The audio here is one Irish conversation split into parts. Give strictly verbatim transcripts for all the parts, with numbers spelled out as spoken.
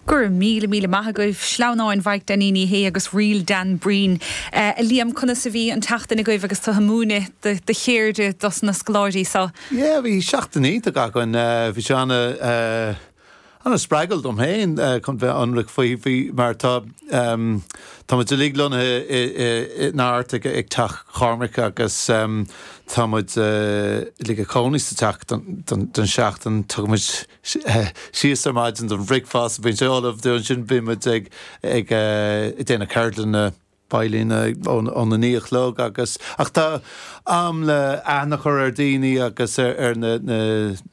Gur míle míle maith agaibh sleamhnáin Mhaidhc Dainín Uí Shé agus Ríl Dan Breen. Uh, Liam conas a bhí an tseachtain agaibh agus tú ag múineadh do cheirde dos na scoláirí seo. Yeah, bhí seachtain iontach againn bhí sé ana uh, ana spreagúil dom féin chun bheith ionraic faoi bhí mar tá um, Tá muid uilig lonnaithe in Art ag ag teach Chormaic agus um, tá muid uilig ag cónaí sa teach don seachtain tugaimid síos ar maidin don bhricfeasta bíonn sé ullamh dúinn sin bímid ag ag déanamh ceardlanna veidhlín ón naoi a chlog agus ach tá am le aithne a chur ar daoine agus ar, ar na, na,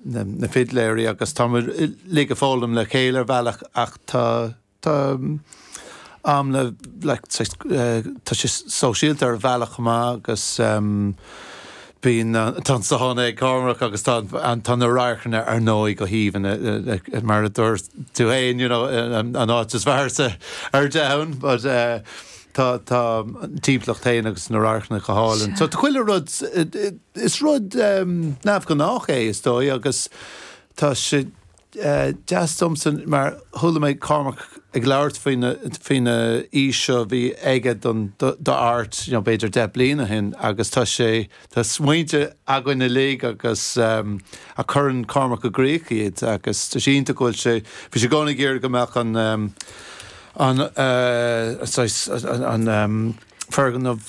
na, na fidléirí agus tá uilig ag foghlaim le chéile ar bhealach ach tá tá am le like, tá sé sóisialta ar bhealach maith agus um, bíonn tá sauna ag Cormac agus tá tá na radharcanna ar ndóigh go haoibhinn mar a dúirt tú féin you know, an áit is fearr sa ar domhan, but uh, tá tá timpeallacht féin agus na radharcanna go hálainn. So tá chuile rud is rud um, neamhghnách é is dóigh agus tá sé uh, deas domsa mar chuala mé Cormac ag labhairt faoina fhís seo bhí aige don do art you know, b'fhéidir deich bliana ó shin agus tá sé tá smaointe againn uilig agus um, a chuireann Cormac i gcrích iad agus tá sé go bhfuil sé bhí sé gona ggéir go mbeadh an um, an uh, an, an um, foirgneamh